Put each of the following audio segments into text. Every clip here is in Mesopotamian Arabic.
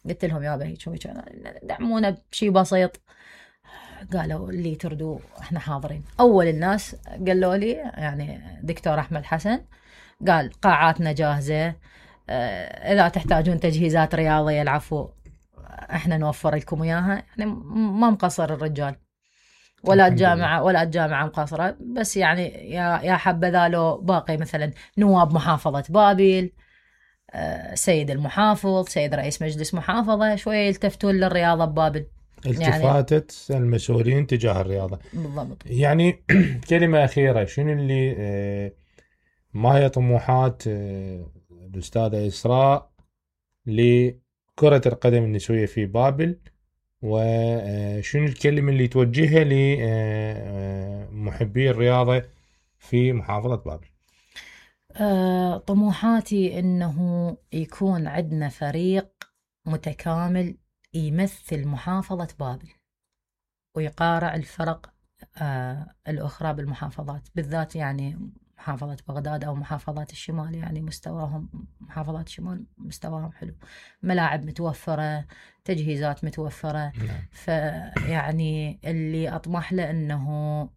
قلت لهم يابا هيك دعمونا بشي بسيط. قالوا اللي تردوا احنا حاضرين. اول الناس قالوا لي يعني دكتور احمد حسن قال قاعاتنا جاهزه، اذا تحتاجون تجهيزات رياضيه العفو احنا نوفر لكم اياها. يعني ما مقصر الرجال ولا الجامعه مقصره، بس يعني يا حبذا لو باقي مثلا نواب محافظه بابل، سيد المحافظ، سيد رئيس مجلس محافظه شويه يلتفتون للرياضه ببابل. التفاتت يعني المسؤولين تجاه الرياضه بالضبط. يعني كلمه اخيره، شنو اللي ما هي طموحات الأستاذة إسراء لكرة القدم النسوية في بابل، وشنو الكلمة اللي توجهها لمحبي الرياضة في محافظة بابل؟ طموحاتي إنه يكون عندنا فريق متكامل يمثل محافظة بابل ويقارع الفرق الأخرى بالمحافظات، بالذات يعني محافظة بغداد أو محافظات الشمال. يعني مستواهم محافظات الشمال مستواهم حلو، ملاعب متوفرة، تجهيزات متوفرة. فيعني اللي أطمح له أنه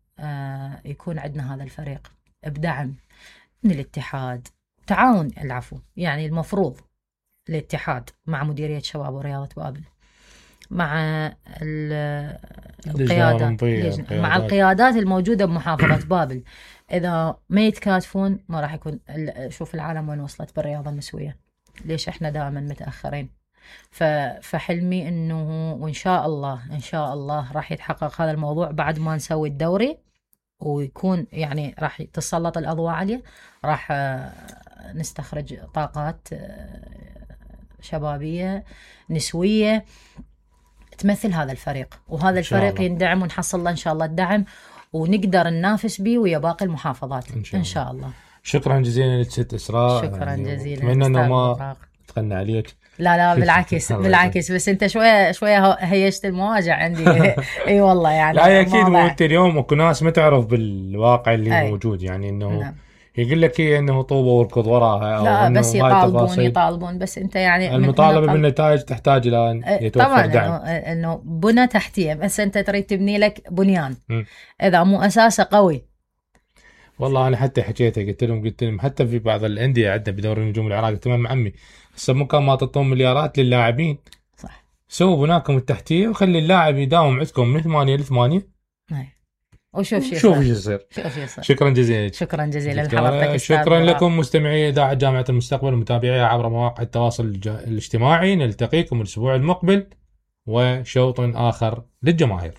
يكون عندنا هذا الفريق بدعم من الاتحاد، تعاون العفو. يعني المفروض الاتحاد مع مديرية شباب ورياضة بابل مع القيادات الموجودة بمحافظة بابل، إذا ما يتكاتفون ما راح يكون. شوف العالم وين وصلت بالرياضة النسوية، ليش إحنا دائما متأخرين. فحلمي إنه وإن شاء الله راح يتحقق هذا الموضوع بعد ما نسوي الدوري، ويكون يعني راح تسلط الأضواء عليه، راح نستخرج طاقات شبابية نسوية تمثل هذا الفريق، وهذا الفريق يندعم ونحصل له إن شاء الله الدعم ونقدر ننافس به ويا باقي المحافظات إن شاء الله. شكرا جزيلا لست إسراء. شكرا جزيلا. أتمنى أنه ما تغنى عليك. لا بالعكس بس أنت شوية هيشت المواجع عندي. أي والله يعني. لا أكيد مو أنت اليوم وكل ناس ما تعرف بالواقع اللي موجود، يعني إنه يقول لك انه طوبه واركض وراها، لا بس يطالبون بس انت يعني المطالبه بالنتائج تحتاج الى ان يتوفر دعم. انه بنى تحتيه، بس انت تريد تبني لك بنيان اذا مو اساسه قوي. والله انا حتى حكيتها قلت لهم حتى في بعض الانديه عندنا بدوري النجوم العراقي تمام عمي، هسه مو كان ما تعطون مليارات للاعبين، صح، سووا بناكم التحتيه وخلي اللاعب يداوم عندكم من 8 ل 8 وشوف شو يصير. شكرا جزيلا لحضرتك. شكرا لكم مستمعي إذاعة جامعة المستقبل ومتابعيها عبر مواقع التواصل الاجتماعي. نلتقيكم الأسبوع المقبل وشوط آخر للجماهير.